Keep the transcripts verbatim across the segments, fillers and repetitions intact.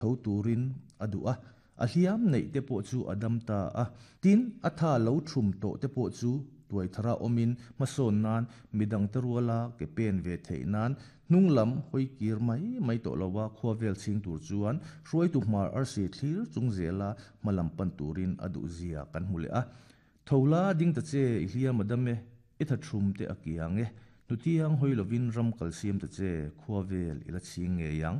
Tho turin a duh a, a hliam neih te pawh chu a dam ta a. Tin, a tha lo thum tawh te pawh chu tuai thara awmin hmasawn nan midangte ruala ke pen ve theih nan hnung lam hawi kir mai mai tawh lova khua vel chhing tur chuan hruaitu hmar arsi thlir chung zela hma lam pan turin a duh zia kan hmu leh a. Tho la ding ta che i hliam a dam e, i tha thum te a kiang e, hnutiang hawi lovin ram kal siam ta che khua vel i la chhing ngei ang.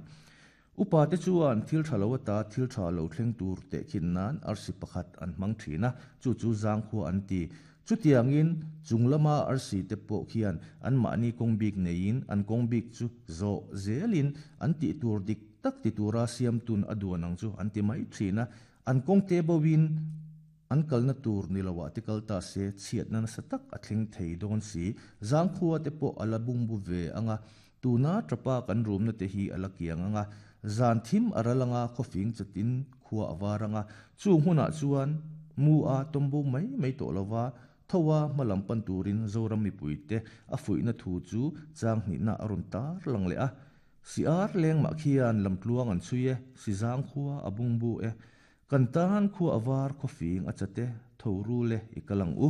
Upa te chuan thil tha lo ata thil tha lo thleng tur tehkhin nan arsi pakhat an hmang thin a, chu chu zangkhua an ti. Chutiangin chung lama arsi te pawh khian an mahni kawng bik neiin an kawng bik chu zawh zelin an tih tur dik tak ti tura siamtun a duan ang chu an ti mai thin a. An kawng te bovin an kalna tur ni loah te kal ta se chhiatna nasa tak a thleng thei dawn si. Zangkhua te pawh a la bungbu ve anga, tuna tapa kan rumna te hi a la kiang anga, zan thim a ral anga khawfing chatin khua a var anga, chung hunah chuan mu a tawmbo mai mai tawh lova thoa hma lam pan turin Zoram mipui te a fuihna thu chu chang hnihna a rawn tar lang leh a. Si ar leng mah khian lamtluang an chhui e, si zangkhua a bungbu e, kan tan khua a var khawfing a chate tho ru le i kalang u.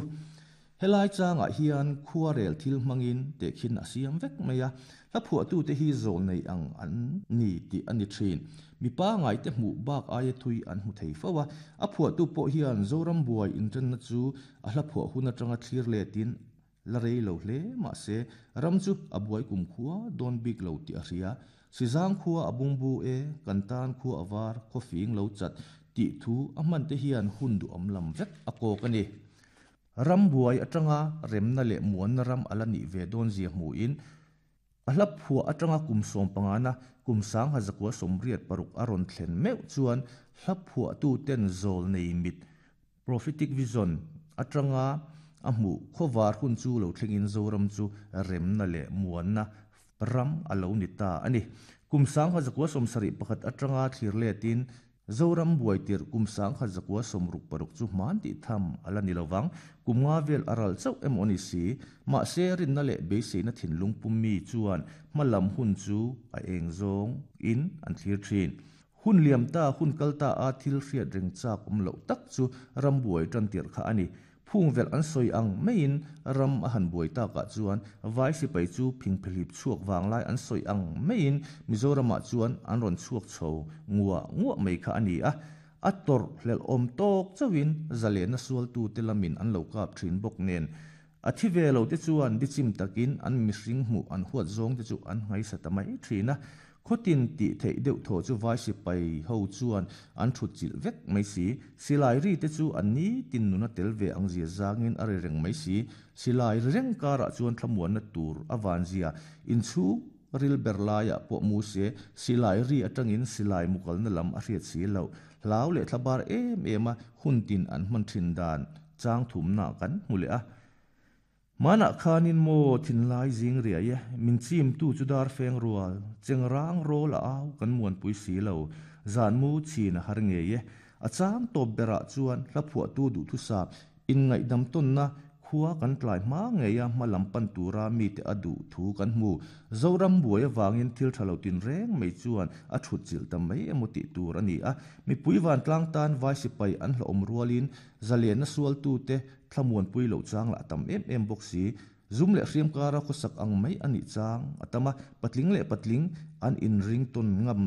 Helai changah hian khua rel thil hmangin tehkhin a siam vek mai a, hla phuahtu te hi zawl nei ang an ni tih a ni thin. Mipa ngai te hmuh bak aia thui an hmu thei fo a, a phuahtu pawh hian Zoram buai inṭanna chu a hla phuah hun aṭanga thlir letin la rei lo hle mah se ram chu a buai kum khua dawn bik lo tih a hria. Si zangkhua a bungbu e, kan tan khua a var khawfing lo chat tih thu a hman te hian hun duhawm lam vek a kawk a ni. Ram buai aṭanga remna leh muanna ram a la nih ve dawn zia hmuhin a hla phuah aṭanga kum sawm pangana kum sangha zakua sawmriat paruk a rawn thlen meuh chuan hla phuahtu ten zawl nei mit prophetic vision aṭanga a hmuh khawvar hun chu lo thlengin Zoram chu remna leh muanna ram a lo ni ta a ni. Kum sangha zakua sawmsarih pakhat aṭanga thlir letin Zoram buai tir kum sangha zakua sawmruk paruk chu hman tih tham a la ni lovang. Kum nga vel a ral chauh emaw ni si, mahse rinna leh beiseina thinlung pummi chuan hma lam hun chu a eng zawng in an thlir thin. Hun liam ta hun kal ta a thil hriat reng chak awm loh tak chu ram buai tan tir kha a ni. Phung vel an sawi ang maiin ram a han buai takah chuan vai sipai chu phingphehlip chhuak vanglai an sawi ang maiin Mizoramah chuan an rawn chhuak chho nguah nguah mai kha a ni a. A tawrh hlelh awm tawk chauhin zalena sualtu te lamin an lo kap thin bawk nen. A thi ve lo te chuan bichim takin an mihring hmuh an huat zawng te chu an ngaisa ta mai thin a. Khawtin tih theih deuh thaw chu vai sipai ho chuan an thut chilh vek mai si. Silai ri te chu an ni tin nuna tel ve ang zia zangin a ri reng mai si. Silai ri reng karah chuan thlamuanna tur a van zia inchhung ril ber laiah pawh mu se silai ri aṭangin silai mukalna lam a hriat si lo. Hlau leh thlabar em em a hun tin an hman thin dan chang thumna kan hmu leh a. Manah khanin maw thinlai zing riai e, min chim tu chu dar feng rual, chengrang rawl a au kan muanpui si lo, zan mu chin a har ngei e. A chang tawp berah chuan hla phuahtu duh thusap inngaihdam tawnna khua kan tlai hma ngei a hma lam pan tura mi te a duh thu kan hmu. Zoram buai awangin thil tha lo tin reng mai chuan a thut chilh ta mai emaw tih tur a ni a. Mipui vantlang tan vai sipai an hlawm rualin zalena sualtu te thlamuanpui lo chang lah tam em em bawk si. Zum leh hriam kara khawsak ang mai a nih chang a tam a, patling leh patling an inring tawn ngam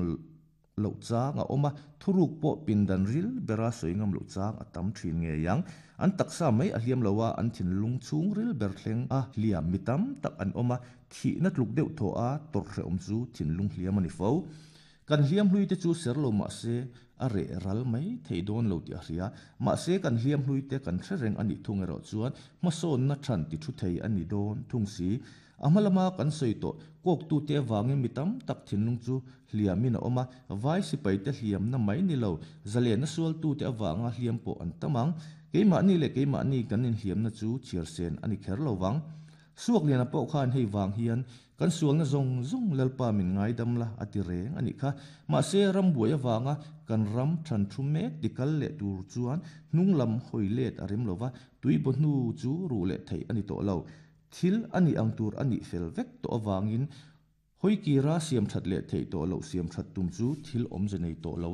lo chang a awm a, thuruk pawh pindan ril bera sawi ngam lo chang a tam thin ngei ang. An taksa mai a hliam lo a, an thinlung chhung ril ber thleng a hliam mi tam tak an awm a, thihna tluk deuh thaw a tawrh hrehawm chu thinlung hliam a ni fo. Kan hliam hlui te chu ser lo mah se a reh ral mai thei dawn lo tih a hria. Mahse kan hliam hlui te kan hre reng a nih thung erawh chuan hmasawnna than ti thu thei a ni dawn thung si. A hma lama kan sawi tawh kawktu te awangin mi tam tak thinlung chu hliamin a awm a, vai sipai te hliamna mai ni lo, zalena sualtu te awanga hliam pawh an tam ang. Keimahni leh keimahni kan inhliamna chu chhiar sen a ni kher lovang. Suak liana pawh khan hei wang hian kan sualna zawng zawng lalpa min ngaidam la a ti reng a nih kha. Mahse ram buai awanga kan ram than thu mek tikal leh tur chuan hnung lam hawi let a rem lova, tui baw hnu chu ru leh theih a ni tawh lo. Thil a nih ang tur a nih fel vek tawh awangin Hoi kira siam that le thei to lo siam that tum chu thil awm ze nei to lo ani.